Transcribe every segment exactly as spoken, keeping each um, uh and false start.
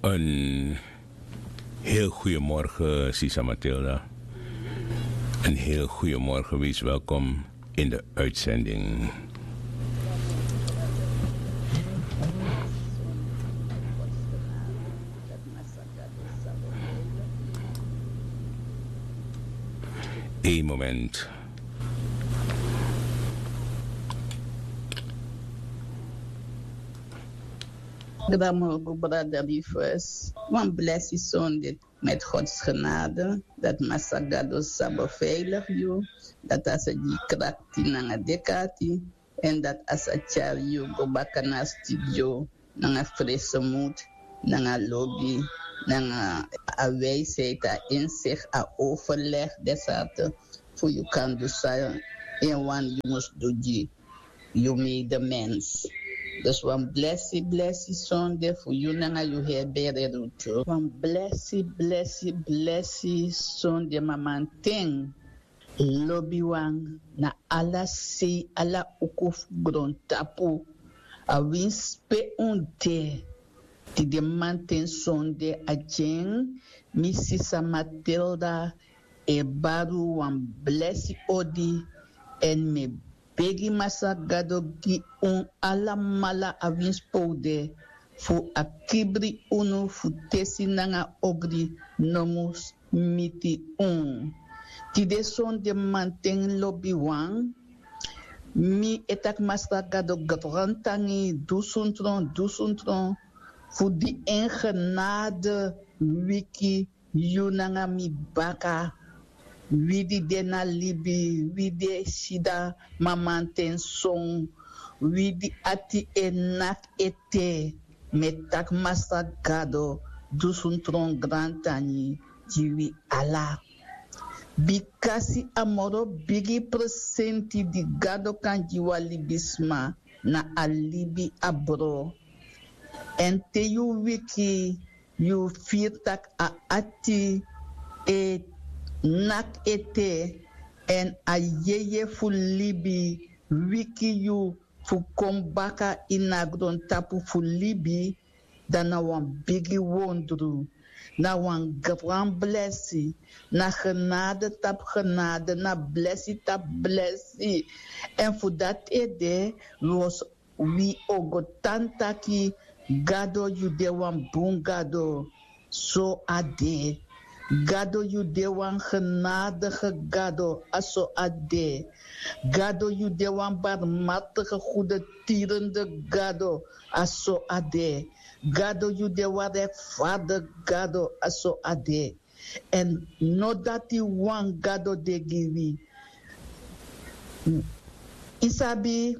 Een heel goeiemorgen, Sisa Matilda. Een heel goeiemorgen, wees welkom in de uitzending. Eén moment. Gramogu brada Rufus, wan blesi sonde met Gods genade, dat Masagado sa beveilig yu, dat a sa gi krakti nanga dekati, en dat a sa tyari yu go baka na studio, nanga frisse moed, nanga lobi, nanga a wijsheid, a inzicht, a overleg, desarte, fu yu kan du sa en wan yu mus du gi yu medemens. Dus wan blesi, blesi sonde fu yu nanga yu heri bere rutu. Wan blesi, blesi, blesi sonde mamanten. Lobiwan na ala sei, ala uku fu grontapu. A winsi pe un de. Tide mamanten sonde a gi en, mi sisa Matilda e baru wan blesi odi, en mi e begi Masra Gado gi un alamala a winsi pe un de, fu a kibri unu fu tesi nanga ogri no mus miti un. Tide sonde mamanten lobiwan, mi e taki Masra Gado grantangi, dusun tron, dusun tron, fu di en genade wiki yu nanga mi baka. Wi di de na libi, wi di e sida mamanten son, wi di ati e naki ete, mi e taki Masra Gado dusun tron grantangi gi wi ala. Bikasi a moro bigi presenti di Gado kan gi wan libisma na a libi abro. En te yu wiki, yu firi tak' a ati e naki ete, en a yeye fu libi wiki yu fu kon baka ini a grontapu fu libi, dan na wan bigi wondru. Na wan gran blesi. Na genade tapu genade, na blesi tapu blesi. En fu dati ede, wi o go tan taki, Gado, yu de wan bun Gado. So a de. Gado, yu de wan genadige Gado. A so a de. Gado, yu de wan barmhartige, goedertierende Gado. A so a de. Gado, yu de wan rechtvaardige Gado. A so a de. En no dati wan Gado de gi wi. Yu sabi,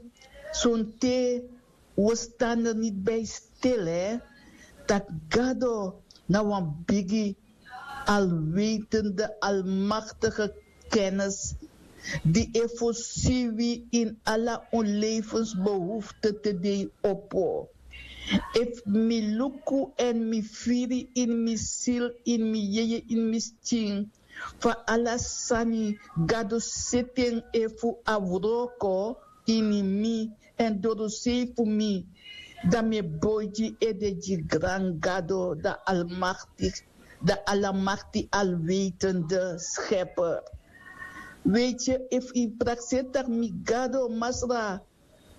sonte wi o stan er niti bij stil, hè, tak' Gado na wan bigi, alwetende, almachtige kennis, di e fosi wi ini ala un levensbehoefte te de opo. Efu mi luku en mi firi ini mi sili, ini mi yeye, ini mi skin, fa ala sani Gado seti en efu a wroko ini mi, en dorosei fu mi, dan mi e boi gi ede gi gran Gado, dan almakti, dan alamakti, alwetende schepper. Weet je, efu yu prakseri tak' mi Gado, Masra,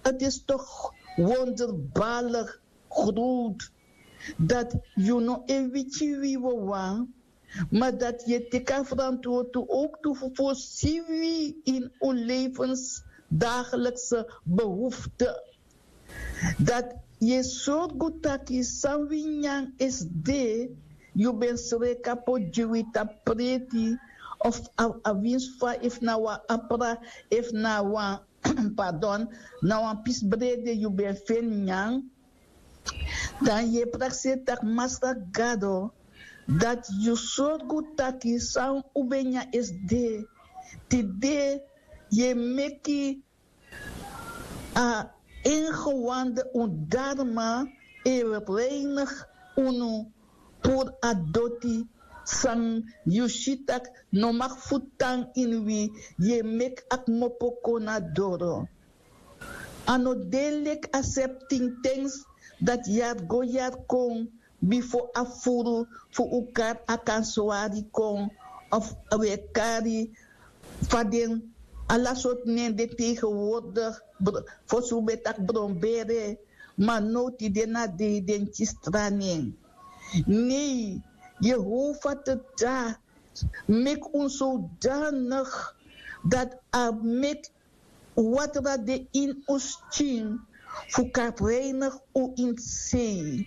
het is toch wonderbaarlijk groot dat yu no e wiki wi wawan, maar dat yu e teki a verantwoord tu ook tu fu fosi wi ini un levensdagelijkse behoefte. Dat yu e sorgu taki san wi nyan esi de, yu ben sreka poti gi wi tapu preti, of a, a winsi fa, efu na wan apra, efu na wan pardon, na wan pisi brede yu ben feni nyan, dan yu e prakseri tak' Masra Gado, dati yu sorgu taki san un ben nyan esi de, tide yu e meki a ingewande, un darma e reinigi unu puru a doti san yu si tak' no mag fu tan ini wi, yu e meki a kmopo kon na doro. A no de leki a septin tens dati yari go yari kon, bifo a furu fu un kari a kan swari kon, of un e kari fa den ala sortu nen de tegenwoordig, fosi un ben taki bronbere, ma now tide na dei den kisi tra nen. Nei, Jehova te dati meki un sodanig dati a meki watra de ini un skin fu kan reinigi un ini sei,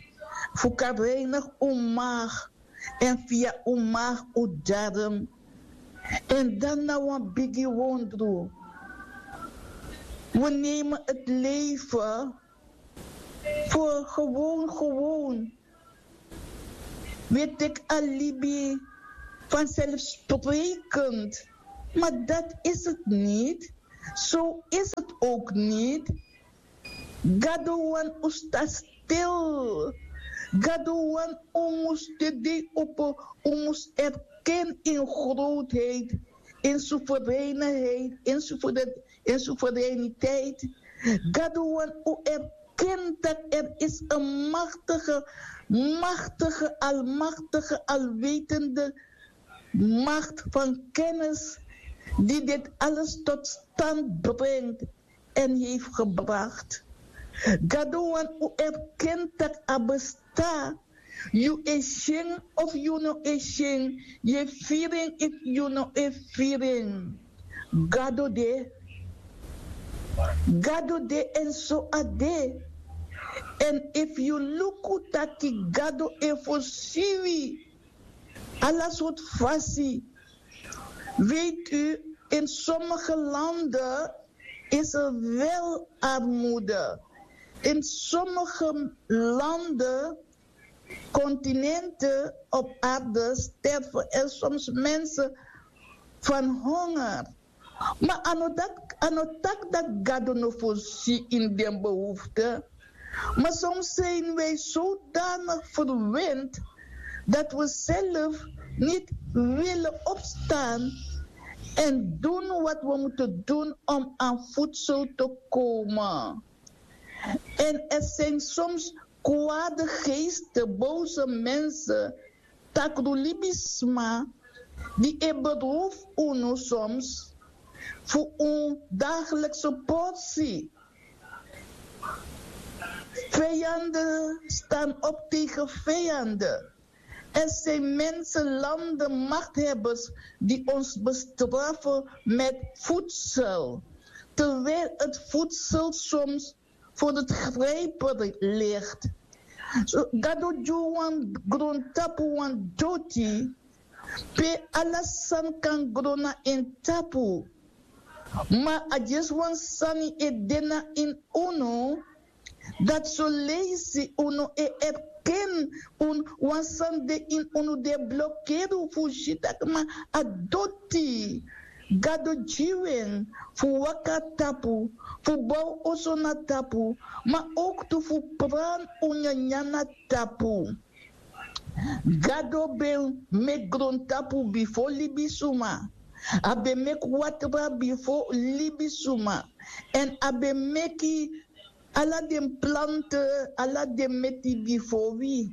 fu kan reinigi un maag, èn via un maag un darm. Èn dan na wan bigi wondru. We nemen het leven voor gewoon, gewoon. We teki a libi vanzelfsprekend. Maar dat is het niet. Zo is het ook niet. Gado wani un sta stil. Gado wani un mus de dei opo, un mus erken in grootheid, in soevereinheid, in soeverein- in soevereiniteit. Gado wani un erken dat er is een machtige, machtige, almachtige, alwetende macht van kennis die dit alles tot stand brengt en heeft gebracht. Gado wani un erken dat a besta. Yu e syen of yu no e syen, yu e firi en of yu no e firi en, Gado de. Gado de, èn so a de. Èn efu yu luku taki Gado e fosi wi ala sortu fasi. Weet u, in sommige landen is er wel armoede. In sommige landen, continenten op aarde, sterven er soms mensen van honger. Ma a no taki dati Gado no fosi ini den behoefte. Maar soms zijn wij zodanig verwend dat we zelf niet willen opstaan en doen wat we moeten doen om aan voedsel te komen. En er zijn soms kwade geesten, boze mensen, takru libisma, die e beroof unu soms voor un dagelijkse portie. Vijanden staan op tegen vijanden. Er zijn mensen, landen, machthebbers die ons bestraffen met voedsel, terwijl het voedsel soms voor het grijpen ligt. So, Gado gi wan grontapu, wan doti, pe ala sani kan gro na en tapu. Ma a dyesi wan sani e de na ini unu, dati soleisi unu e erken unu, wan sani de ini unu di e blokeri unu fu si taki ma a doti. Gado gi wi en fu waka na tapu, fu bow oso na tapu, ma ook tu fu prani un nyanyan na tapu. Gado ben meki grontapu bifo libisuma. A ben meki watra bifo libisuma. Èn a ben meki ala den planten, ala den meti bifo wi.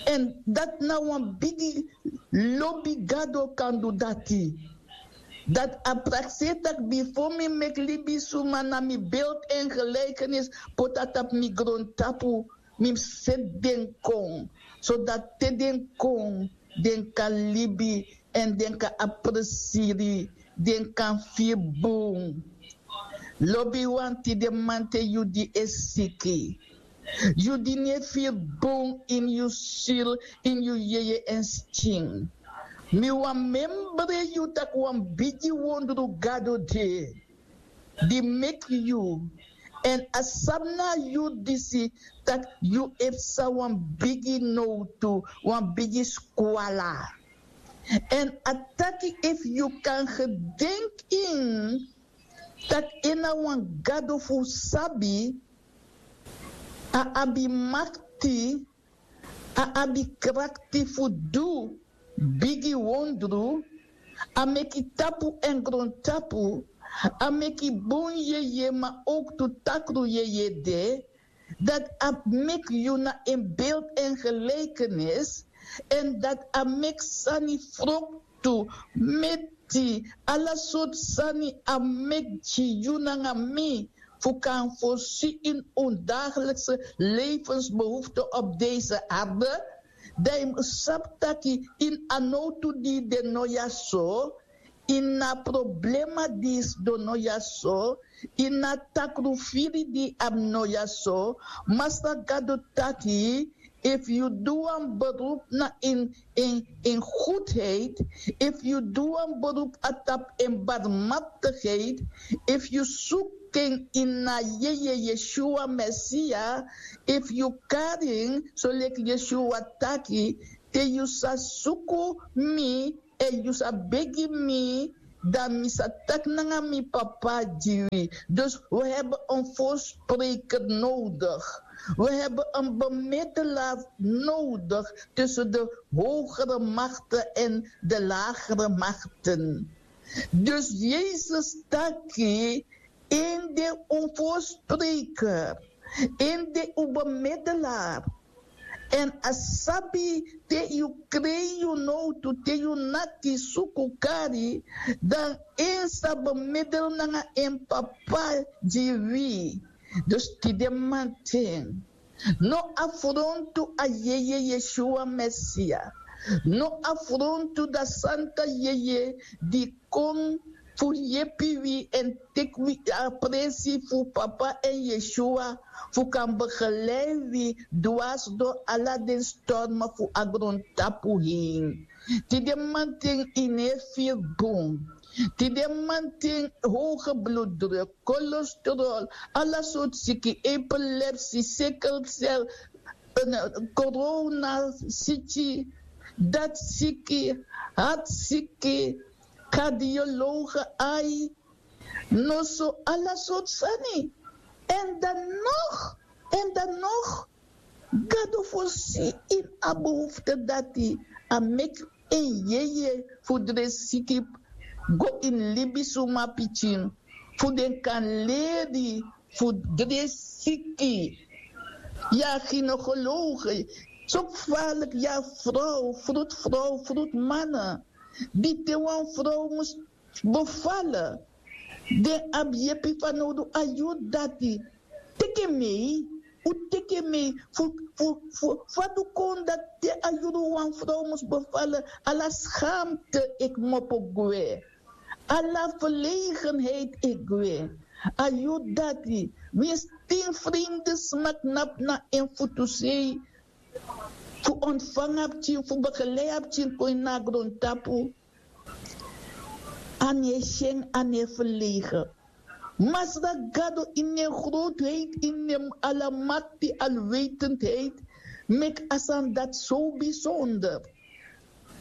Èn dati na wan bigi lobi. Gado kan du dati. Dati a prakseri taki bifo mi meki libisuma na mi beeld en gelijkenis, poti a tapu mi grontapu, mi seti den kon, sodati te den kon, den kan libi, èn den kan abi presiri, den kan firi bun. Lobiwan, tide mamanten yu di e siki, yu di no e firi bun ini yu siri, ini yu yeye èn skin, mi wani membre yu taki wan bigi wondru Gado de di meki yu. Èn a sabi na a yuru disi taki yu e psa wan bigi nowtu, wan bigi skwala. Èn a taki efu yu kan gedenki en, taki en na wan Gado fu sabi, a abi makti, a abi krakti fu du bigi wondru, a meki tapu èn grontapu, a meki bun yeye ma ook tu takru yeye de, dati a meki yu na en beeld en gelijkenis, èn dati a meki sani froktu, meti, ala sortu sani a meki gi yu nanga mi, fu kan voorzien in un dagelijkse levensbehoefte op deze aarde. Dan yu mus sabi taki ini a nowtu di yu de no ya so, ini a problema di yu sidon no ya so, ini a takrufiri di yu abi no ya so. Masra gado taki, efu yu du wan beroep na en en en goedheid, efu yu du wan beroep na tapu en barmhartigheid, efu yu suku en ini a yeye yeshua mesia, efu yu kari en soleki yeshua taki, te yu sa suku mi èn yu sa begi mi, dan mi sa taki nanga mi papa gi wi. Dus we hebben een voorspreker nodig. We hebben een bemiddelaar nodig tussen de hogere machten en de lagere machten. Dus Jezus taki, en de un voorspreker, en de un bemiddelaar. Èn a sabi te yu krei yu nowtu, te yu naki, suku, kari, dan en sa bemiddel nanga en papa gi wi. Dus tide manten, no afrontu a yeye yeshua mesia. No afrontu da santa yeye di kon fu yepi wi èn teki wi a presi fu papa èn yeshua, fu kan begelei wi dwars dori ala den stormen fu a grontapu heen. Tide manten yu no e firi bun. Tide manten hoge bloeddruk, cholesterol, ala sortu siki, epilepsie, sikkelcel, corona siki, dati siki, hartsiki, kardiologe, ai, noso, ala sortu sani. Èn dan nog, èn dan nog, gado fosi ini a behoefte dati a meki en yeye fu dresi siki go ini libisuma pikin, fu den kan leri fu dresi siki. Ya ginekologe, so gevaarlijk, ya vrouw, vroedvrouw, vroedmannen, di te wan vrouw mus bevallen, den abi yepi fanowdu a yuru dati. Teki en mei, un teki en mei fu fu fu fa du kon dati te a yuru wan vrouw mus bevallen, ala schaamte e kmopo gwe, ala verlegenheid e gwe. A yuru dati, winsi tin vreemde sma knapu na en futusei fu ontvangen a pikin, fu begeleiden a pikin kon ini a grontapu, a no e si en, a no e verlegen. Masra gado ini en grootheid, ini en alamakti, alwetendheid, meki a sani dati so bijzonder,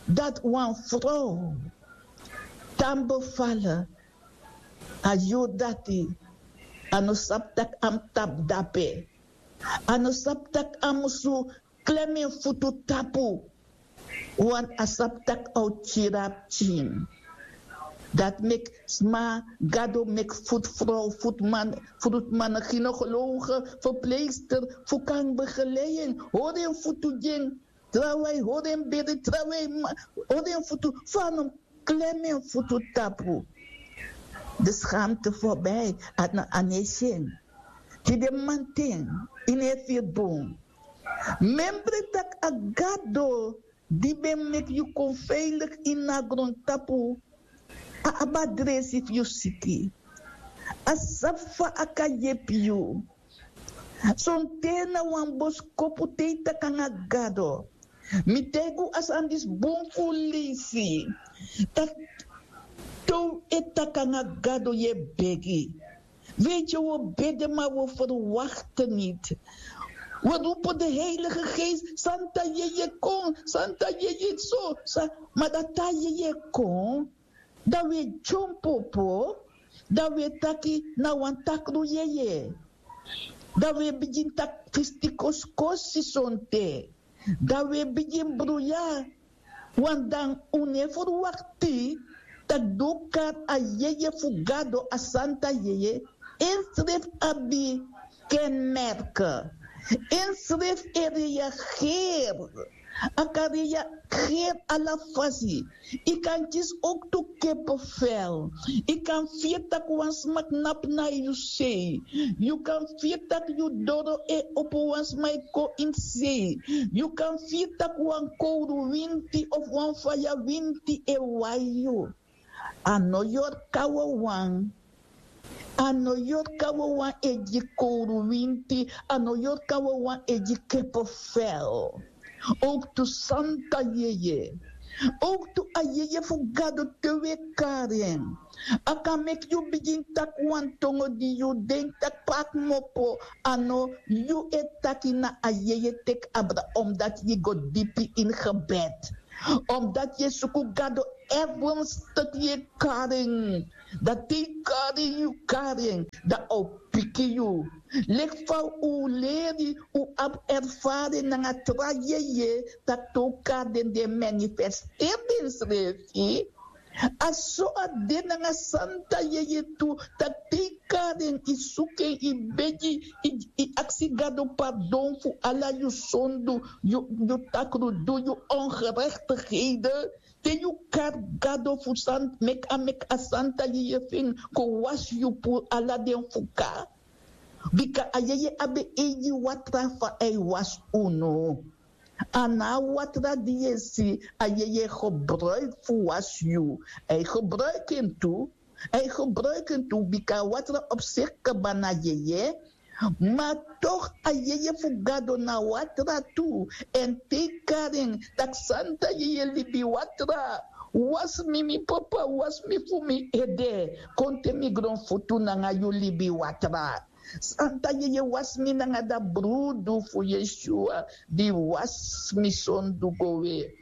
dati wan vrouw tan bevallen, a yuru dati a no sabi tak' a mus tapu dape. A no sabi tak' a musu klem en futu tapu. Want a sabi tak' a o kiri a pikin. Dati meki sma, gado meki futu vrouw, futu man, futu man, gynaecologe, verpleegster, fu kan begeleiden, hori en futu gi en, trawan e hori en bere, trawan e hori en futu, fu a no klem en futu tapu. De schaamte voorbij, a no e si en. Tide manten, yu no e firi bun. Memre tak' a gado di ben meki yu kon veilig ini a grontapu, a abi a dresi fu yu siki. A sabi fa a kan yepi yu. Sonten na wan boskopu te yu taki nanga gado. Mi taigi unu a sani disi bun fu un leisi. Taki te un e taki nanga gado, yu e begi. Weet je, we bidden maar we verwachten niet. We roepen de Heilige Geest, Santa Yeye kon, Santa Yeye so, maar dat ta Yeye kon, dan we jompopo, dan we taki na wan takru Yeye. Dan we begin taki fistikoskosi sonte. Dan we bigin bruya. Want dan un no e ferwakti tak' di un kari a Yeye fu Gado, a Santa Yeye, en srefi abi kenmerke. Ensrefi e reageri. A kan reageri ala fasi. Yu kan kisi owktu kepefel. Yu kan firi tak' wan sma knapu na yu sei. Yu kan firi tak' yu doro e opo, wan sma e kon ini sei. Yu kan firi tak' wan kowruwinti of wan fayawinti e wai yu. A no yorka wawan. A no yorka wawan e gi kowruwinti. A no yorka wawan e gi kepefel. Owktu santa yeye. Owktu a yeye fu Gado te wi e kari en, a kan meki yu bigin taki wan tongo di yu denki tak' pe a kmopo. A no yu e taki, na a yeye teki abra, omdati yu go dipi ini gebed. Omdati yu e suku Gado ernstig, yu e kari en. Dan te yu kari en, yu kari en, dan a o piki yu. Leki fa un leri, un abi erfari nanga tra yeye, tak' te un kari den, den e manifesteri densrefi. A so a de nanga santa yeye tu, tak' te yu kari en, yu suku en, yu begi, yu, yu aksi Gado pardon fu ala yu sondu, yu, yu takrudu, yu ongerechtigheden. Te yu kari Gado fu san-, meki a, meki a santa yeye fu en kon wasi yu puru ala den fuka. Bika a yeye abi eigi watra fa a e wasi unu. A na a watra di yu e si, a yeye gebruiki fu wasi yu. A e gebruiki en tu. A e gebruiki en tu, bika a watra op siki kaba na yeye. Ma toch a yeye fu Gado na watra tu. Èn te yu kari en, taki: Santa Yeye libi watra, wasi mi, mi Papa, wasi mi fu mi ede, kon te mi gronfutu nanga yu libi watra. Santa Yeye, wasi mi nanga da brudu fu Yeshua di wasi mi sondu go we.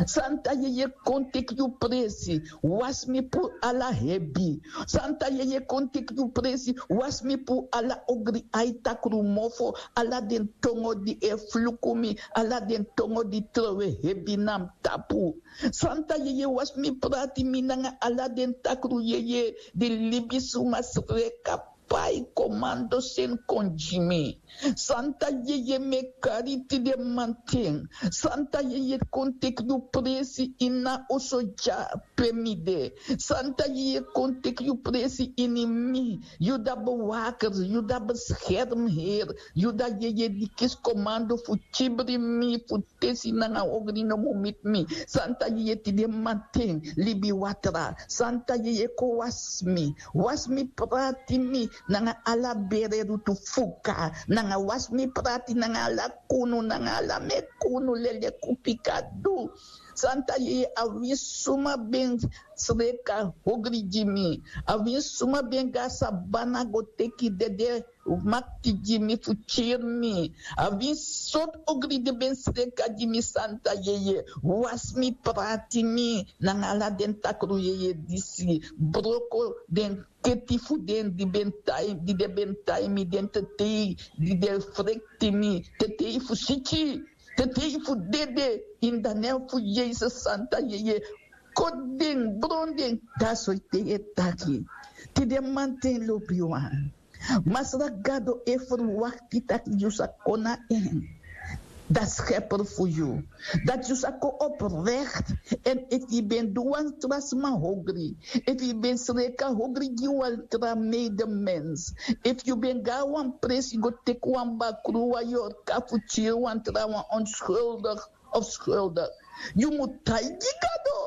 Santa Yeye, kon teki yu presi, wasi mi puru ala hebi. Santa Yeye, kon teki yu presi, wasi mi puru ala ogri ai, takru mofo, ala den tongo di e fluku mi, ala den tongo di trowe hebi na mi tapu. Santa Yeye, wasi mi, prati mi nanga ala den takru yeye di libisuma sreka pai komando seni kon gi mi. Santa Yeye, mi e kari tide manten. Santa Yeye, kon teki yu presi ini a oso dya pe mi de. Santa Yeye, kon teki yu presi ini mi. Yu da bewaker, yu da beschermheer, yu da Yeye di kisi komando fu kibri mi, fu tesi nanga ogri no mu miti mi. Santa Yeye, tide manten, libi watra. Santa Yeye, kon wasi mi. Wasi mi, prati mi nanga ala bere rutu fuka. Nanga wasi mi, prati nanga ala kunu, nanga ala mekunu, lele, kupikadu. Santa Yeye, a winsi suma ben sreka ogri gi mi. A winsi suma ben go na sabana go teki dede makti gi mi fu kiri mi. A winsi sortu ogri den ben sreka gi mi, Santa Yeye, wasi mi, prati mi nanga ala den takru yeye disi. Broko den keti fu den di ben tai, di den ben tai mi, den tetei di den frekti mi, tetei fu siki, tetei fu dede, ini a nen fu Yesus, Santa Yeye, koti den, bron den. Dati so yu e taki. Tide manten, lobiwan, Masra Gado e ferwakti taki yu sa kon na en, da Schepper fu yu. Dati yu sa kon oprecht. Èn efu yu ben du wan tra sma ogri, efu yu ben sreka ogri gi wan tra medemens, efu yu ben go na wan presi go teki wan bakru, wan yorka fu kiri wan tra wan, onschuldig of schuldig, yu mu taigi Gado.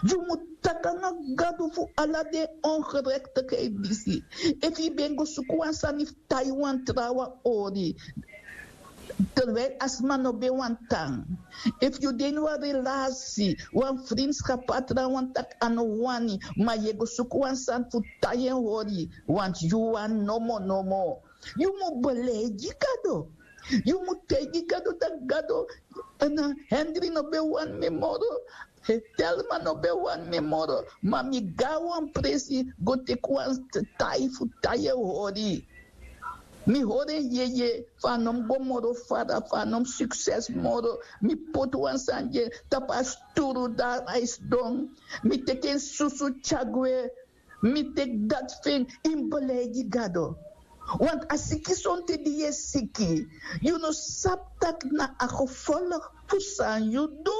Yu mu taki nanga Gado fu ala den ongerechtigheid disi. Efu yu ben go suku wan sani fu tai wan trawan hori, terwijl a sma no ben wani tan. Efu yu de ini wan relasi, wan vriendschap, a trawan taki a no wani, ma yu e go suku wan sani fu tai en hori, want yu wani nomo nomo. Yu mu beleigi Gado. Yu mu taigi Gado taki: Gado, na Henry no ben wani mi moro, Telma no ben wani mi moro, ma mi go na wan presi go teki wan tai fu tai en hori. Mi hori en yeye, fa a no mu go moro fara, fa a no mu sukses moro. Mi poti wan sani gi en tapu a sturu, dan a e sidon. Mi teki en susu tyari gwe. Mi teki dati fu en. Yu mu beleigi Gado. Want a siki sonte di yu e siki, yu no sabi tak' na a gevolg fu san yu du.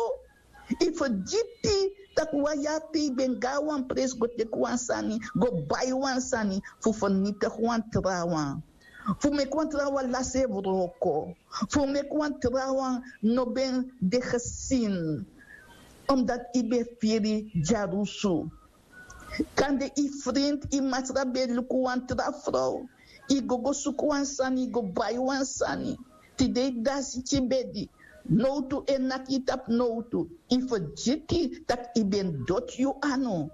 Yu fergiti tak' wan yari te yu ben go na wan presi go teki wan sani, go bai wan sani fu fernitigi wan trawan, fu meki wan trawan lasi en wroko, fu meki wan trawan no ben de gesin, omdat yu ben firi dyarusu. Kande yu frinti, yu masra ben luku wan tra frow, yu go go suku wan sani, yu go bai wan sani. Tide yu dasi tyin bedi, nowtu e naki yu tapu nowtu. Yu fergiti tak' yu ben doti yu anu.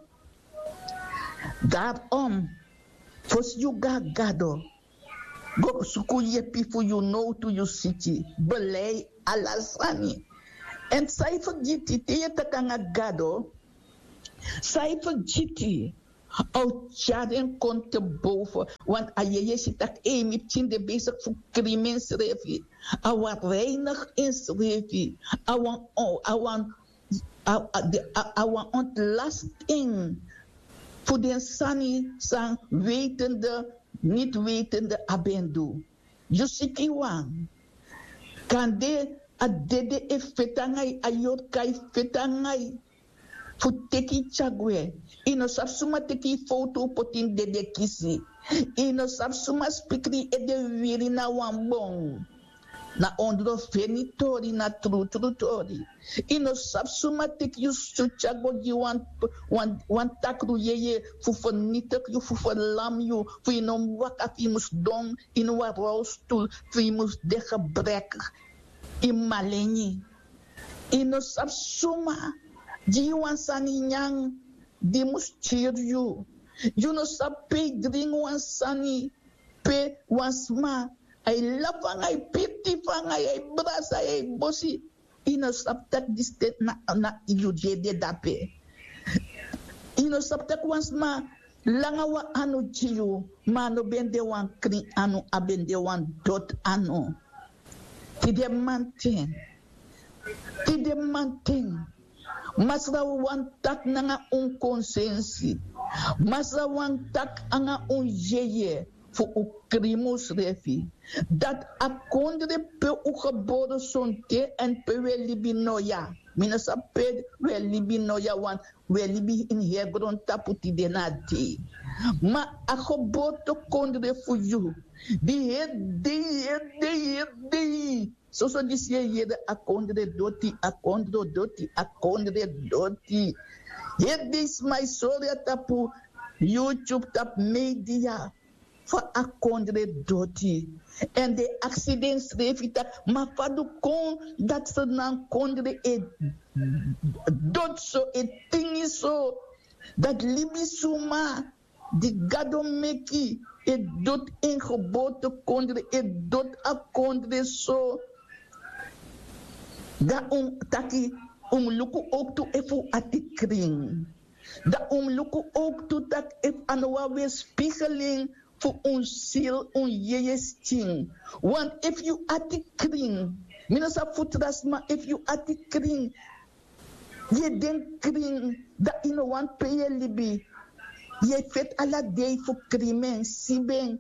Darom, fosi yu go na Gado, go suku yepi fu yu nowtu yu siki. Belei ala sani. Èn san yu fergiti te yu e taki nanga Gado, san yu fergiti, a o tyari en kon te boven. Want a yeye si tak' ei, mi pikin de besigi fu krimi ensrefi. A wani reinigi ensrefi. A wani, a wani, a wani ontlasti en fu den sani san wetende, niti wetende a ben du. Yu sikiwan, kande a dede e feti nanga yu, a yorka e feti nanga yu fu teki yu tyari gwe. Yu no sabi suma teki yu fowtu poti ini dede kisi. Yu no sabi suma spikri yu ede wiri na wan bon. Na ondro feni tori, na trutru tori. Yu no sabi suma teki yu stu tyari go gi wan, wan, wan takru yeye fu fernitigi yu, fu ferlam yu, fu yu no mus waka, fu yu mus sidon ini wan rolstul, fu yu mus de gebrek. Yu maleni. Yu no sabi suma gi yu wan sani nyan di mus kiri yu. Yu no sabi pe yu dringi wan sani pe wan sma ai lafu nanga yu, piriti fu nanga yu, ai brasa yu, ai bosi. Yu no sabi tak' disi ten na, na yu di e de dape. Yu no sabi tak' wan sma langa wan anu gi yu, ma a no ben de wan krin anu, a ben de wan doti anu. Tide mamanten, tide mamanten, Masra wani taki nanga un konsensi. Masra wani taki nanga un yeye fu un krimi unsrefi. Dati a kondre pe un gebore sonten èn pe un e libi noya. Mi no sabi pe un e libi noya, want un e libi ini heri grontapu tide na dei. Ma a geboortekondre fu yu, di heri dei, heri dei, heri dei. Soso disi yu e yere a kondre doti, a kondre doti, a kondre doti. Heri dei sma e sori na tapu YouTube, tapu media, fa a kondre doti. Èn den e aksi densrefi taki, ma fa du kon dati Sranan kondre e doti so, e tingi so, dati libisuma di Gado meki e doti en geboortekondre, e doti a kondre so. Dan un taki, un mus luku owktu efu un ati krin. Dan un mus luku owktu taki efu a no wan weerspiegeling fu un ziel, un yeye skin. Want efu yu ati krin, mi no sabi fu tra sma, efu yu ati krin, yu e denki krin, dan yu no wani pe yu e libi. Yu e feti ala dei fu krimi en, sibi en,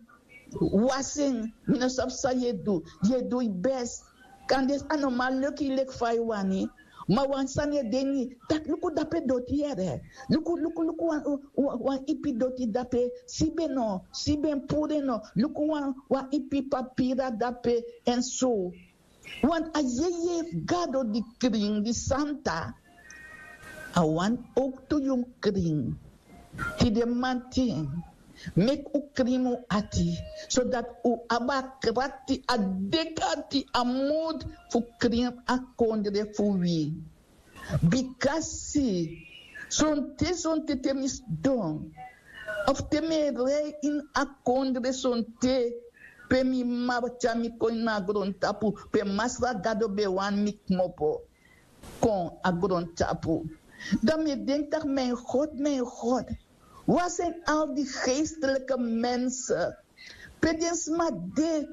wasi en, mi no sabi san yu e du, yu e du yu best. Kande a no man leki yu leki fa yu wani, ma wan sani e de ini, taki luku dape doti yere, luku, luku, luku wan, wan, wan ipi doti dape, sibi en no, sibi en, puru en no, luku wan, wan ipi papira dape, èn so. Want a yeye fu Gado di krin, di santa, a wani owktu yu mus krin. Tide mamanten, meki un krin un ati, sodati un abi a krakti, a dek'ati, a moed fu krin a kondre fu wi. Bikasi sonten, sonten te mi sidon, of te mi e rei ini a kondre sonten, pe mi mama tyari mi kon ini a grontapu, pe Masra Gado ben wani mi kmopo kon a grontapu, dan mi e denki taki, mijn God, mijn God, waar zijn al die geestelijke mensen? Pe den sma de,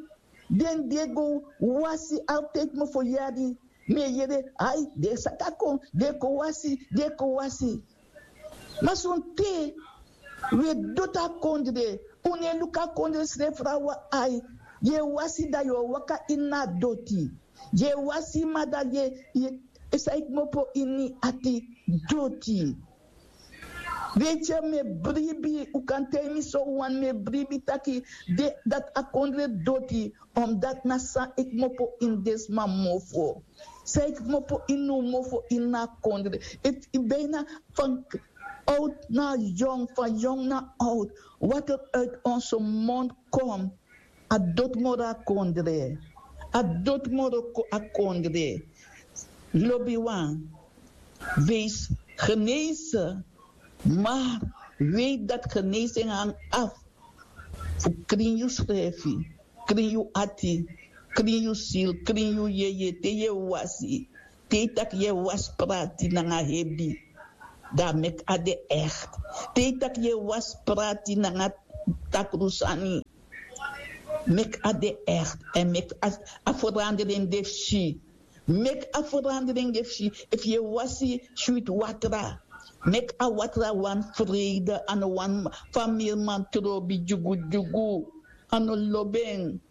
den di e go wasi? Altijd mi ferferi, mi e yere, ai, den e saka kon, den e kon wasi, den e kon wasi. Ma sonten wi e doti a kondre, Un no e luku a kondre srefi fu a wan ai. Yu e wasi, dan yu o waka ini a doti. Yu e wasi, ma dan yu e, yu e, san e kmopo ini yu ati, doti. Weet yu, mi e bribi, un kan taigi mi so wan, mi e bribi taki, de, dati a kondre doti, omdat na san e kmopo ini den sma mofo. San e kmopo ini un mofo ini a kondre. Iti bijna van oud naar jong, van jong naar oud. Wat er uit onze mond komt, a doti moro a kondre. A doti moro a kondre. Lobiwan, wees genezen, maar weet dat genezing hangt af fu krin yusrefi, krin yu ati, krin yu sil, krin yu yeye, te yu e wasi, te yu taki yu e wasi prati nanga hebi, dan meki a de echt. Te yu taki yu e wasi prati nanga takru sani, meki a de echt. En meki a, a verandering de fu si. Meki a verandering de fu si. Efu yu e wasi switi watra, meki a watra wani vrede, a no wani famiri man trobi dyugudyugu, a no lobi en.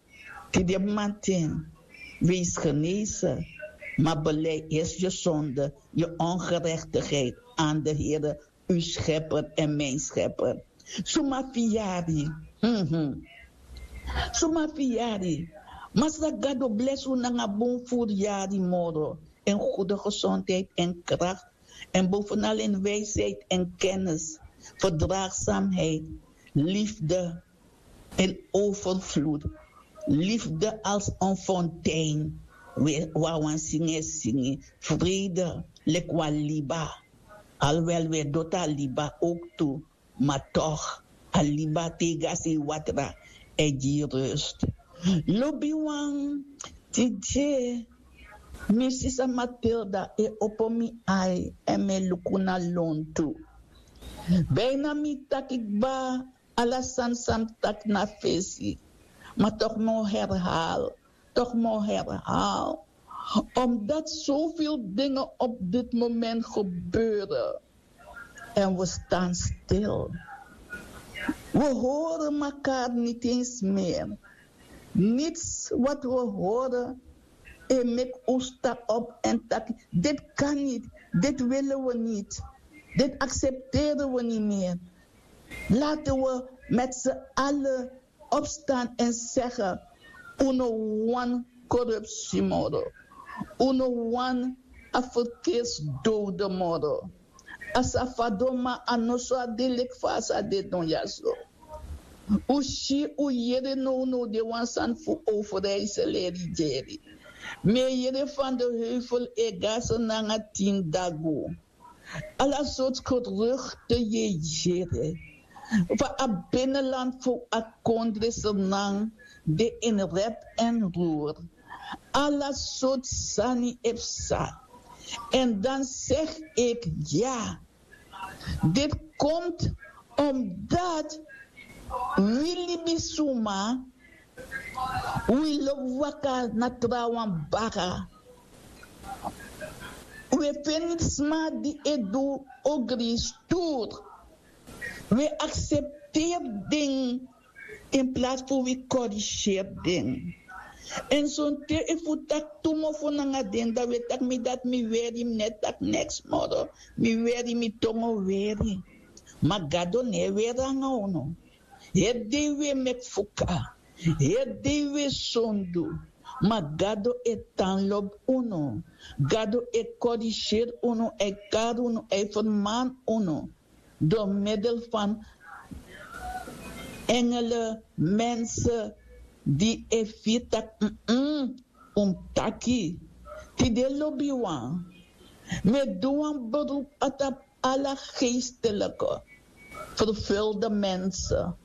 Tide mamanten, wees genezen, maar beleid eerst je zonde, je ongerechtigheid aan de Heer, uw schepper en mijn schepper. Suma fu yu yari. Mhm. Suma fu yu yari. Masra Gado blesi un nanga bun furu yari moro, en goede gezondheid en kracht, en bovenal in wijsheid en kennis, verdraagzaamheid, liefde in overvloed, liefde als een fontein. We wawan singi singi, vrede lik wan liba. Alwel we doti a liba ook tu, maar toch, a liba tega sei watra e gi rust. Lobiwan, tide mi sisa Matilda e opo mi ai, en mi e luku na lontu. Bijna mi taki kba, ala sani san mi taki na fesi. Maar toch mi o herhaal, toch mi o herhaal. Omdat zoveel dingen op dit moment gebeuren. En we staan stil. We horen elkaar niet eens meer. Niets wat we horen, e meki un sta op en taki: dit kan niet, dit willen we niet, dit accepteren we niet meer. Laten we met z'n allen opstaan en zeggen: un no wani korupsi moro. Un no wani a verkeersdode moro. A sa fadon, ma a no so a de leki fa a sa de don ya so. Un si, un yere nownow de wan sani fu Overijssel e rigeri. Mi e yere Van de Heuvel e go a se nanga tin dagu. Ala sortu geruchten yu e yere. Fa a binnenland fu a kondre Sranan de in rep en roer. Ala sortu sani e psa. En dan zeg ik ja. Dit komt omdat wi libisuma, wi lobi waka na trawan baka. Wi e feni sma di e du ogri, sturu. Wi e aksepteri den in plaats fu wi korigeri den. En sonten efu wi taki tu mofo nanga den, dan wi e taki: mi dati mi weri, mi no e taki neks moro, mi weri, mi tongo weri. Ma Gado no e weri nanga unu. Heri dei wi e meki fuka, heri dei wi e sondu, ma Gado e tan lobi unu. Gado e korigeri unu, a e kari unu, a e fermani unu door middel van engelen, mensen die e firi taki: mm, un mus taki. Tide, lobiwan, mi e du wan beroep na tapu ala geestelijke, vervulde mensen.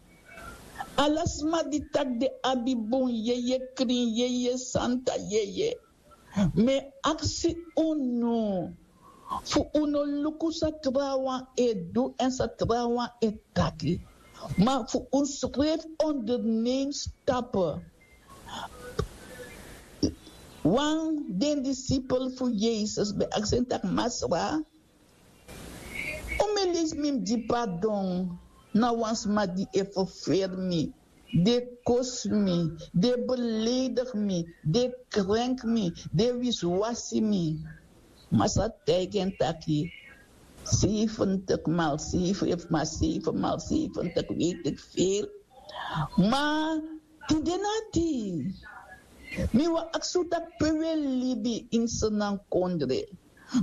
Ala sma di taki den abi bun yeye, krin yeye, santa yeye. Mi e aksi unu fu un no luku san trawan e du èn san trawan e taki, ma fu unsrefi onderneem stappen. Wan den disipel fu Yesus ben aksi en taki: Masra, un mi leisi mi mus gi pardon na wan sma di e ferferi mi, di e kosi mi, di e beleidigi mi, di e krenki mi, di e wisiwasi mi. Masra taigi en taki, seifentik mal seifen efu ma seifen mal seifen taki weiti eki feel. Ma tide na dei mi wani aksi un taki pe un e libi ini senan kondre,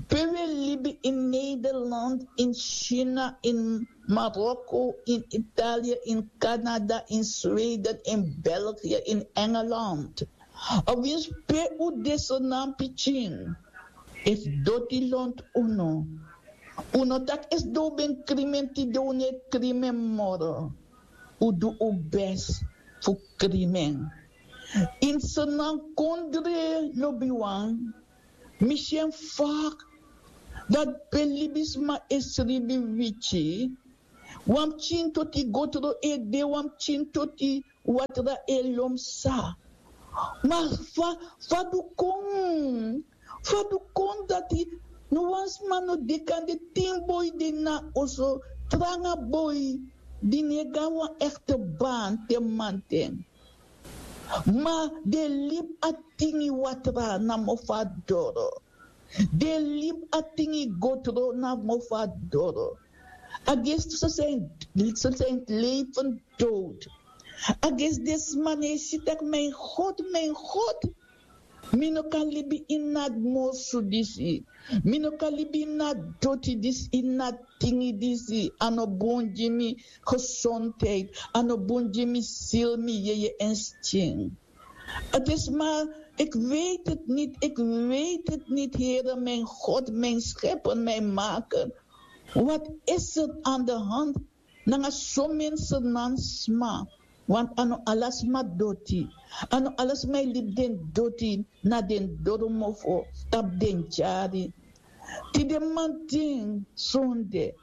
pe un e libi ini nederland, ini china, ini marokko, ini italia, ini kanada, ini sweden, ini belgia, ini engeland. Awinsi pe un de senan pikin, efu doti lontu unu, un no taki esi den un ben krimi en tide un no e krimi en moro. Un du un besi fu krimi en. Ini senan kondre lobiwan, mi si en fak dati pe libisma e sribi wityi. Wan pikin toti gotro e de, wan pikin toti watra e lon psa. Ma fa fa du kon? Fa du kon dati? No wan sma no de kande tin boi de na oso, tranga boi di no e go na wan ekte baan te manten. Ma den libi a tingi watra na mofo a doro. Den libi a tingi gotro na mofo a doro. A gesti so senti leifen dowd. A gesti den sma no e si tak' mi en god, mi en god, mi no kan libi ini a morsu disi. Mi no kan libi ini a doti disi, ini a tingi disi. A no bun gi mi gesondheid. A no bun gi mi sili, mi yeye èn skin. A de sma. Ik weet het nit, ik weet het nit, here, mijn god, mijn schepper, mijn maker. Wat is er aan de hand? Nanga somen senan sma. Want a no ala sma doti. A no ala sma e libi den doti na den doromofo tapu den tyari. Tide manten sonde,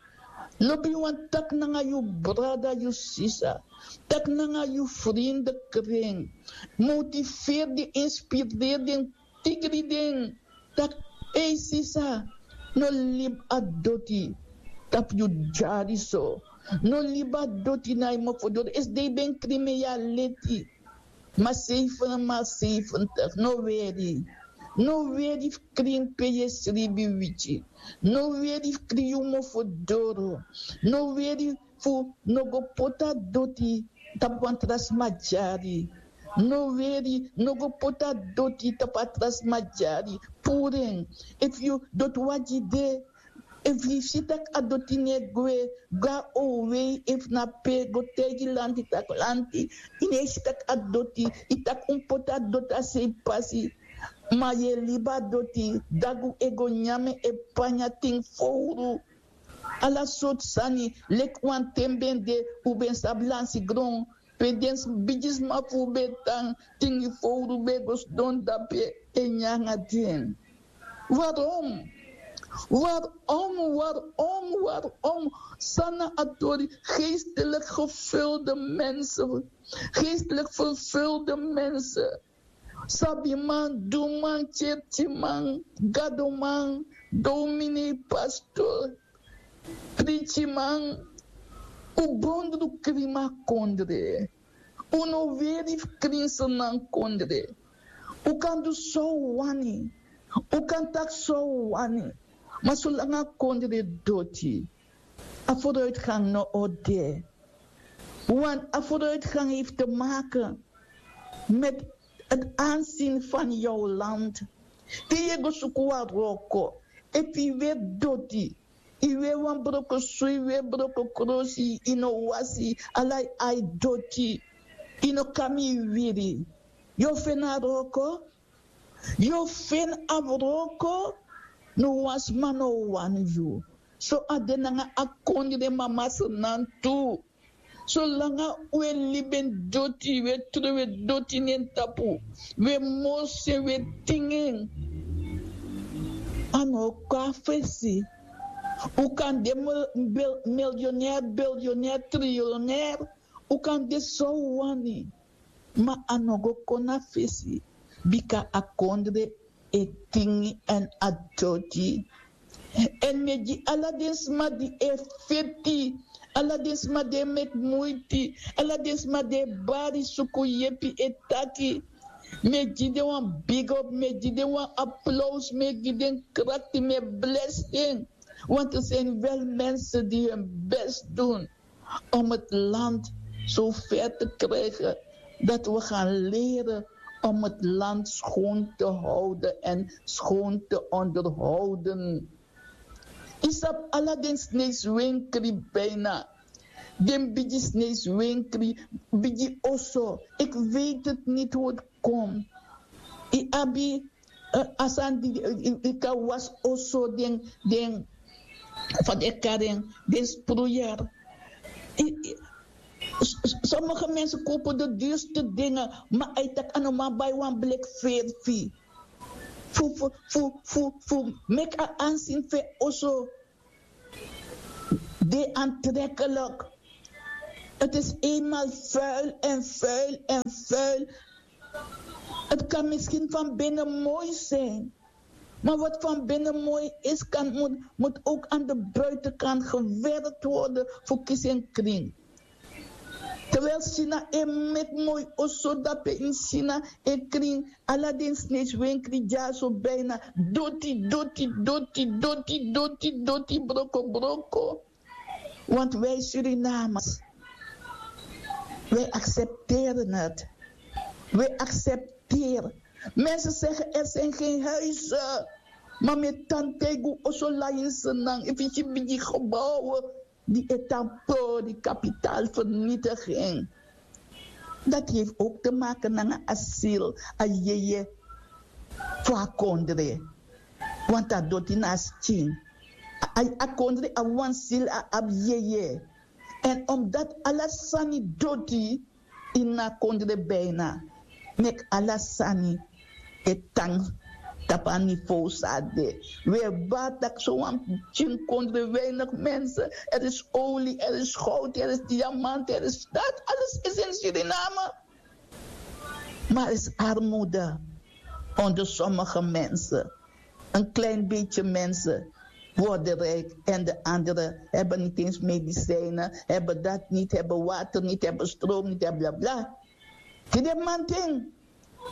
lobi wan taki nanga yu brada, yu sisa, taki nanga yu frinde kring, motiveri den, inspireri den, tikri den taki: ei sisa, no libi a doti tapu yu dyari so. No libi a doti na yu mofo doro. Esi den yu ben krin mi en yu a leti. Ma seifen ma seifentik, no weri. No weri fu krin pe yu e sribi wityi. No weri fu krin yu mofo doro. No weri fu no go poti a doti tapu wan tra sma dyari. No weri, no go poti a doti tapu a tra sma dyari. Puru en. Efu yu doti wagi de, efu yu si tak' a doti no e gwe, go na owei efu na pe, go taigi lanti tak' lanti, yu no e si tak' a doti, yu taki un poti a doti a sei pasi. Ma yu e libi a doti, dagu e go nyan en, e panya tin fowru. Ala sortu sani. Leki wanten ben de, un ben sabi lansi gron pe den bigisma fu un ben tan, tin fowru ben go sidon dape e nyan nanga den. Warom? Warom? Warom? Warom? San na a tori? Geestelik gevulde mensen. Geestelik vervulde mensen. Sabiman, duman, kerkiman, gadoman, domini, pastor, prikiman. Un bondru krima kondre. Un no weri fu krinse nan kondre. Un kan du san un wani. Un kan taki san un wani. Ma solanga kondre doti, a vooruitgang no o de. Want a vooruitgang heeft te maken met het aanzien van jouw land. Te yu e go suku wan wroko, efu yu weri doti, yu weri wan broko soi, yu weri broko krosi, yu no wasi, ala yu ai doti, yu no kami yu wiri, yu o feni a wroko? Yu o feni a wroko? No wan sma no o wani yu. So a de nanga a kondre mama snan tu. Solanga un e libi en doti, un e trowe doti na en tapu, un e morsi en, un e tingi en, a no o kon na fesi. Un kan de milionair, bilionair, trilionair. Un kan de san un wani. Ma a no go kon na fesi. Bika a kondre e tingi èn a doti. Èn mi e gi ala den sma di e feti Ala den sma di e meki muiti, ala den sma di e bari suku yepi, e taki. Mi e gi den wan big up, mi e gi den wan aplaus, mi e gi den krakti, mi e blesi den. Want er zijn wel mensen die hun best doen om het land zo ver te krijgen dat we gaan leren om het land schoon te houden en schoon te onderhouden. Isap ala den sneis wenkri bijna. Den bigi sneis wenkri, bigi oso. Ik weet het niet hoe het komt. I abi, eh, asan di, eh, i, i kan was oso den, den, van de karen, den sproeier. I, i, s- s- sommige mensen kopen de duurste dingen, maar hij tak aan een man bij wan blik veerfi. Fu, fu, fu, fu, fu, mek a aanzien fu oso de aantrekkelijk. Het is eenmaal vuil en vuil en vuil. Het kan misschien van binnen mooi zijn, maar wat van binnen mooi is, kan, moet, moet ook aan de buitenkant gewerkt worden voor kies en kring. Terwijl China e meki moi oso dape in China, en kring ala den sneis wenkri dyaso bijna doti, doti, doti, doti, doti, doti, broko, broko. Want wij Surinamers, wij accepteren het. Wij accepteren. Mensen zeggen er zijn geen huizen. Maar met tantego oso lainsenang, efisi bigi gebouwen. Die e tan pori kapitaalvernietiging. Dat heeft ook te maken met een asiel, a yeye, voor a kondre. Want a doti na skin. A, a kondre a wan sil a abi yeye. En omdat ala sani doti, ini a kondre bijna, meki ala sani e tan tapu a niveau san a de. Wi e bari taki sowan pikin kondre, weinig mensen. Er is olie, er is goud, er is diamant, er is dat. Alles is in Suriname. Maar er is armoede onder sommige mensen. Een klein beetje mensen worden rijk en de anderen hebben niet eens medicijnen, hebben dat niet, hebben water niet, hebben stroom niet, hebben bla bla. Tide manting,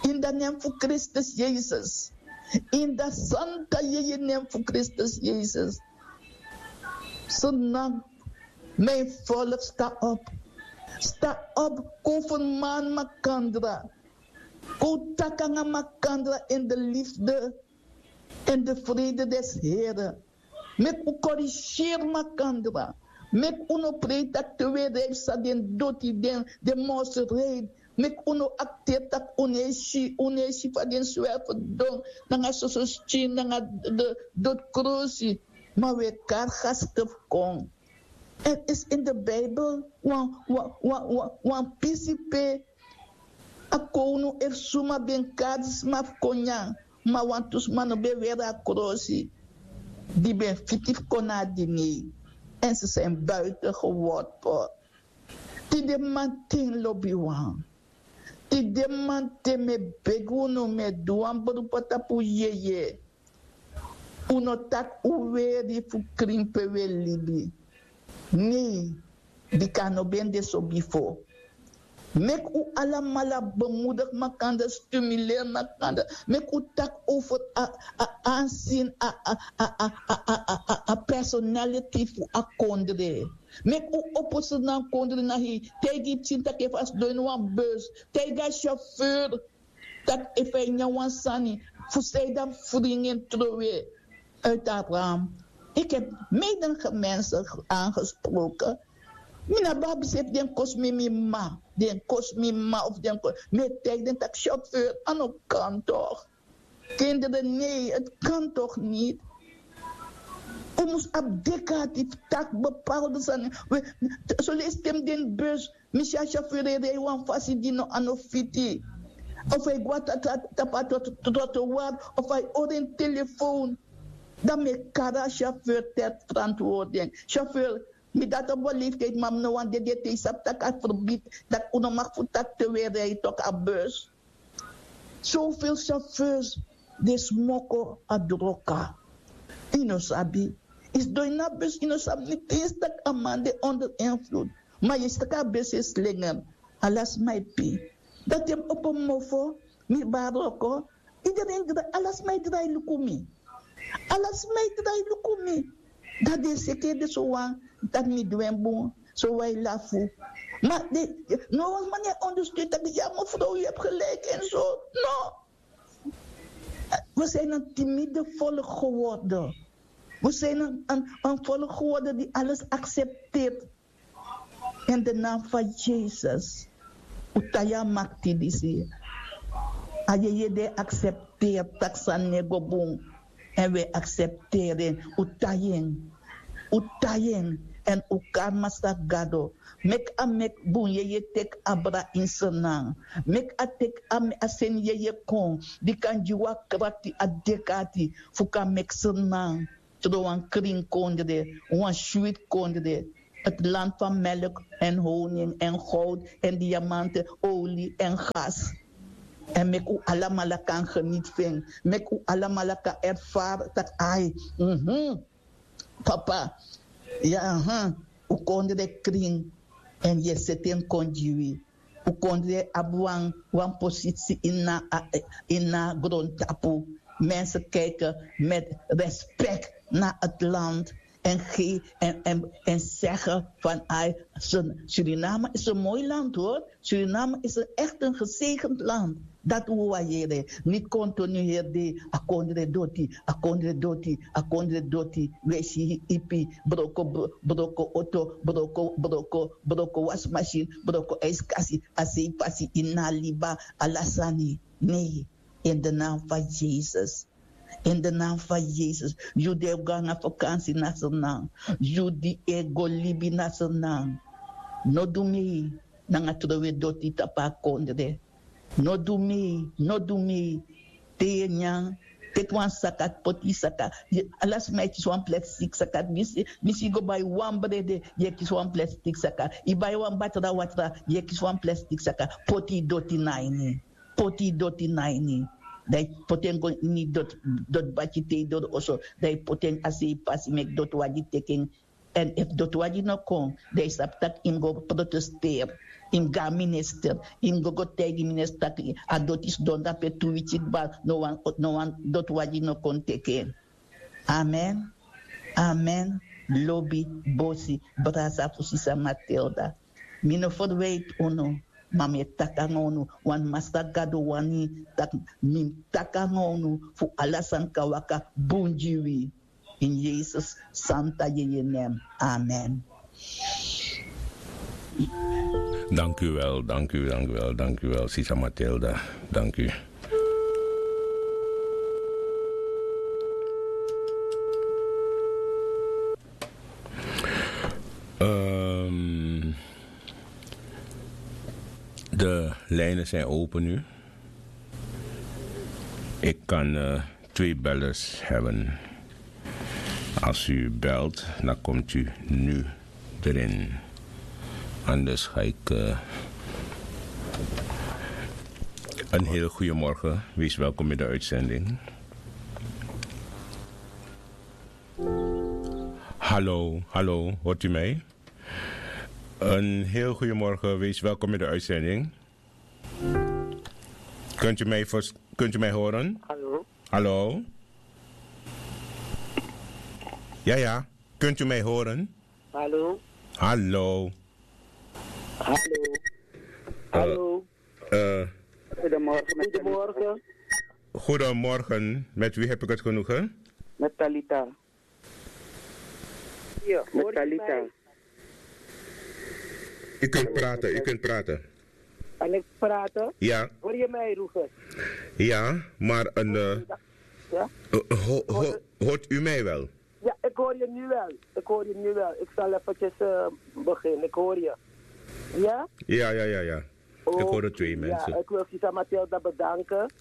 in de naam van Christus Jezus, in de santa yeye naam van Christus Jezus, Senang, mijn volk, sta op. Sta op, koverman makandra. Kon taki nanga makandra in de liefde en de vrede des Heren. Meki un corrigeer makandra. Meki un no prei taki te wi e rei san den doti, den, den mosrei. Meki un no akteri taki un no e si, un no e si fa den swerverdon nanga soso skin nanga de dotkrosi. Ma wi e kari gasten fu kon. Er is in de Bijbel wan, wan, wan, wan, wan pisi pe a kownu efu suma ben kari sma fu kon nyan, ma wantu sma no ben weri a krosi, di ben fiti fu kon na a diner. En ze zijn buiten geworpen. Tide manten, lobiwan, tide manten mi e begi unu, mi e du wan beroep tapu yeye. Un no taki un weri fu krin pe un e libi. Nei, bika a no ben de so bifo. Meki un alamala bemoedigi makandra, stimuleri makandra. Meki un taki over a, a aanzien, a, a, a personality fu a kondre. Meki un opo seri na a kondre na hei. Taigi pikin taki efu a sidon ini wan bus, taigi a chauffeur taki efu a e nyan wan sani, fu san ede a mus fringi en trowe uit a ram. Ik heb menige mensen aangesproken. Mi no abi abi seefi den kosi mi, mi mama, den kosi mi mama of den kosi mi, e taigi den taki chauffeur, a no kan toch. Kinderen, nee, het kan toch niet. Un mus abi deki ati fu taki bepaalde sani. Soleisi te mi de ini bus, mi si a chauffeur e rei wan fasi di no, a no fiti. Of a e go na tapu a trottoir, of a e hori en telefoon. Dan mi e kari a chauffeur ter verantwoording. Chauffeur, mi dati op wan leeftijd, ma mi no wani dede te yu sabi taki a verbidi, taki un no mag fu taki te un e rei toch a bus. Zoveel chauffeurs di e smoko a droga. Yu no sabi. Yu sidon ini a bus, yu no sabi niti yu si tak' a man de onder invloed. Ma yu si tak' a bus e slinger. Ala sma e pee. Dan te mi opo mofo, mi baroko, iedereen drai, ala sma e drai luku mi. Ala sma e drai luku mi. Dan den seke de sowan, dan mi du en bun, sowan e lafu. Ma den, no wan sma no e ondersteun taki ya mevrouw, yu abi gelijk en zo. No. We zijn een timide volk geworden. We zijn een, een, een volk geworden die alles accepteert. In de naam van Jezus. Un tai a makti disi. A yeye di e aksepteri tak' sani no e go bun. Èn wi e aksepteri en. Un tai en. Un tai en. Èn un kari Masra Gado. Meki a meki bun yeye teki abra ini Sranan. Meki a teki a, a seni yeye kon. Di kan gi wi a krakti, a dek'ati fu kan meki Sranan tron wan krin kondre, wan switi kondre. Het land van melk en honing en goud en diamanten, olie en gas. Èn meki un alamala kan geniet fu en. Meki un alamala kan erfari taki ai, mhm, papa, ya, aha, un kondre krin. Èn yu e seti en kon gi wi. Un kondre abi wan, wan posisi ini a, ini a grontapu. Mensen kijken met respect naar het land en, ge, en, en, en zeggen van ai, Suriname is een mooi land hoor. Suriname is een, echt een gezegend land. Dat we waarderen. Niet continu hier de a kondre doti, a kondre doti, a kondre doti. We si ipi, broko, bro- broko oto, broko, broko, broko wasmachine, broko ijskasi, a sei pasi ini a liba, ala sani. Nee, in de naam van Jezus. In de naam van Jezus. Yu di e go nanga vakansi na Sranan. Yu di e go libi na Sranan. No du mee nanga trowe doti tapu a kondre. No du mee, no du mee. Te yu e nyan, teki wan saka, poti saka. Ala sma e kisi wan plastik saka. Mi si, mi si yu go bai wan brede, yu e kisi wan plastik saka. Yu bai wan batra watra, yu e kisi wan plastik saka. Poti doti na ini. Poti doti na ini. Dan yu poti en go ini doti, doti baki te yu doro oso. Dan yu poti en a sei pasi meki doti wagi teki en. Èn efu doti wagi no kon, dan yu sabi tak' yu mus go protesteri. Yu mus go na minister. Yu mus go go taigi minister tak' a doti sidon dape tu wiki kba, no wan, no wan doti wagi no kon teki en. Amen. Amen. Lobi, bosi, brasa fu sisa Matilda. Mi no ferwiti unu, ma mi e taki nanga unu, want Masra Gado wani tak' mi taki nanga unu fu ala sani kan waka bun gi wi. In Jezus santa yeye nen. Amen. Dank u wel, dank u, dank u wel, dank u wel, Sisa Matilda. Dank u. Ehm, de lijnen zijn open nu. Ik kan eh, twee bellers hebben. Als u belt, dan komt u nu erin. Anders ga ik eh, een heel goede morgen. Wees welkom in de uitzending. Hallo, hallo, hoort u mij? Een heel goedemorgen, wees welkom in de uitzending. Kunt u mij, vers- kunt u mij horen? Hallo? Hallo? Ja, ja, kunt u mij horen? Hallo? Hallo? Hallo? Eh, Hallo? eh, Goedemorgen. Met Goedemorgen. Goedemorgen, met wie heb ik het genoegen? Met Talita. Met Talita. U kunt praten, u kunt praten. Kan ik praten? Ja. Hoor je mij, Rufus? Ja, maar een... eh, Ja? eh, ho- ho- hoort u mij wel? Ja, ik hoor je nu wel. Ik hoor je nu wel. Ik zal eventjes eh, beginnen. Ik hoor je. Ja? Ja, ja, ja, ja. Ik hoor de twee mensen. Ja, ik wil Sisa Matilda bedanken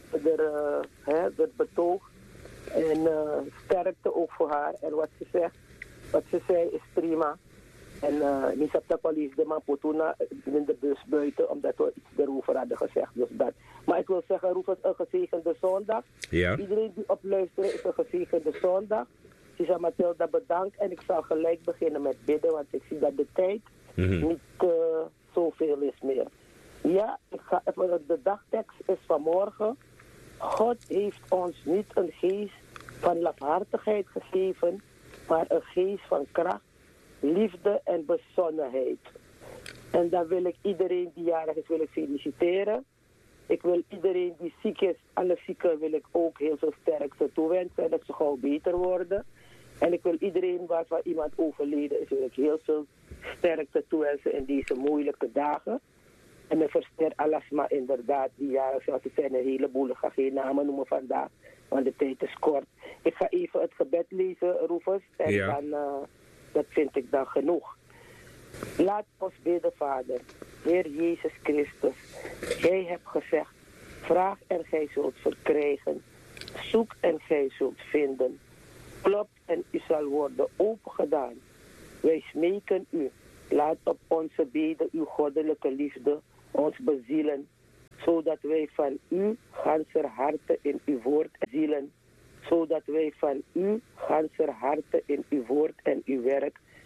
voor de, eh, hè, het betoog. En eh, sterkte ook voor haar. En wat ze zegt, wat ze zei is prima. En eh, mi sabi tak' wan leisi den man poti unu in de bus buiten, omdat we iets erover hadden gezegd. Dus dat. Maar ik wil zeggen, Rufus, een gezegende zondag. Ja. Iedereen die op luisteren is een gezegende zondag. Isa Matilda, bedankt en ik zal gelijk beginnen met bidden, want ik zie dat de tijd niet uh, zoveel is meer. Ja, ik ga even, de dagtekst is vanmorgen. God heeft ons niet een geest van lafhartigheid gegeven, maar een geest van kracht, liefde en bezonnenheid. En dan wil ik iedereen die jarig is, wil ik feliciteren. Ik wil iedereen die ziek is, alle zieken wil ik ook heel veel sterkte toewensen en dat ze gauw beter worden. En ik wil iedereen waarvan iemand overleden is, wil ik heel veel sterkte toewensen in deze moeilijke dagen. En men versteert alasma inderdaad, die jarig zelfs, het zijn een heleboel, ik ga geen namen noemen vandaag, want de tijd is kort. Ik ga even het gebed lezen, Rufus, en dan, uh, dat vind ik dan genoeg. Laat ons bidden, Vader. Heer Jezus Christus, Gij hebt gezegd: vraag en gij zult verkrijgen, zoek en gij zult vinden, klop en u zal worden opengedaan. Wij smeken u, laat op onze beden uw goddelijke liefde ons bezielen, zodat wij van u ganser harte in uw woord zielen, zodat wij van u ganser harte in uw woord en uw werk